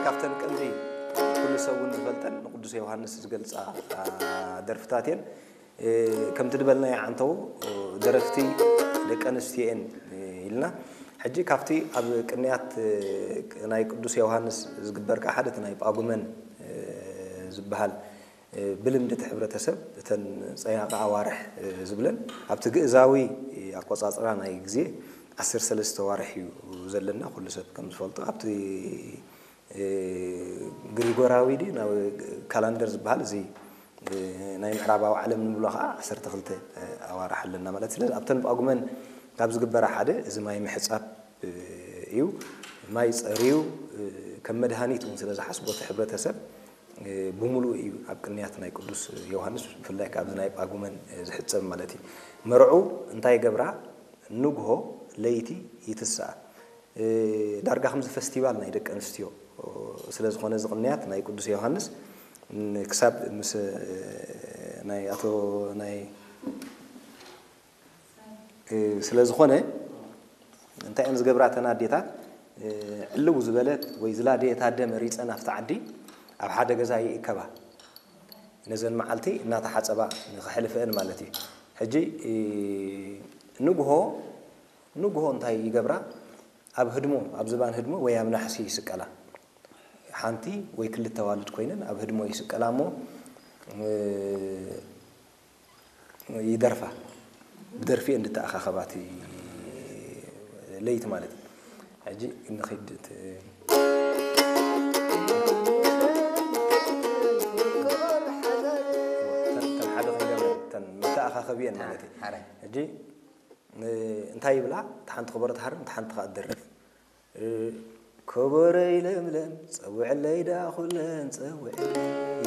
ካብተን ቀንዲ ኩሉ ሰብ እውን ዝፈልጠን ንቅዱስ ዮሃንስ ዝገልጻ ደርፍታት እየን። ከምቲ ዝበልናዮ ዓንተው ደረፍቲ ደቂ ኣንስትዮ እየን ኢልና። ሕጂ ካብቲ ኣብ ቅንያት ናይ ቅዱስ ዮሃንስ ዝግበር ከዓ ሓደ እቲ ናይ ጳጉመን ዝበሃል ብልምዲ እቲ ሕብረተሰብ እተን ጸያቂ ኣዋርሕ ዝብለን ኣብቲ ግእዛዊ ኣቆጻጽራ ናይ ግዜ ዓሰርተ ሰለስተ ኣዋርሕ እዩ ዘለና። ኩሉ ሰብ ከም ዝፈልጦ ኣብቲ ግሪጎራዊ ድዩ ናብ ካላንደር ዝበሃል እዚ ናይ ምዕራባዊ ዓለም ንብሎ ከዓ ዓሰርተ ክልተ ኣዋርሕ ኣለና ማለት። ስለዚ ኣብተን ጳጉመን ካብ ዝግበራ ሓደ እዚ ማይ ምሕጻብ እዩ። ማይ ጸርዩ ከም መድሃኒት እውን ስለ ዝሓስቦ እቲ ሕብረተሰብ ብምሉኡ እዩ ኣብ ቅንያት ናይ ቅዱስ ዮሃንስ፣ ብፍላይ ካብዚ ናይ ጳጉመን ዝሕጸብ ማለት እዩ። መርዑ እንታይ ይገብራ? ንግሆ ለይቲ ይትስኣ። ዳርጋ ከምዚ ፈስቲቫል ናይ ደቂ ኣንስትዮ ስለ ዝኾነ እዚ ቅንያት ናይ ቅዱስ ዮሃንስ ክሳብ ምስ ናይ ኣቶ ናይ ስለ ዝኾነ እንታይ እየን ዝገብራ እተን ኣዴታት? ዕልው ዝበለት ወይ ዝላደየት ኣደ መሪፀን ኣብቲ ዓዲ ኣብ ሓደ ገዛ ይእከባ። ነዘን መዓልቲ እናተሓፀባ ንኸሕልፈአን ማለት እዩ። ሕጂ ንግሆ ንግሆ እንታይ ይገብራ? ኣብ ህድሞ፣ ኣብ ዝባን ህድሞ ወይ ኣብ ናሕሲ ይስቀላ። ሓንቲ ወይ ክልተ ኣዋልድ ኮይነን ኣብ ህድሞ ይስቀላ እሞ ይደርፋ። ብደርፊ እንድተኣኻኸባ እቲ ለይቲ ማለት እዩ። ሕጂ ንኺድ እቲ ተን ሓደ ክንገብረን ተን መተኣኻኸቢየን ማለት እዩ። ሕጂ እንታይ ይብላ? እቲ ሓንቲ ከበሮ ትሃርም፣ እቲ ሓንቲ ከዓ ትደርፍ። ከበሮይ ለምለም ጸውዕለይ ደኣ ኩለን ጸውዕለይ።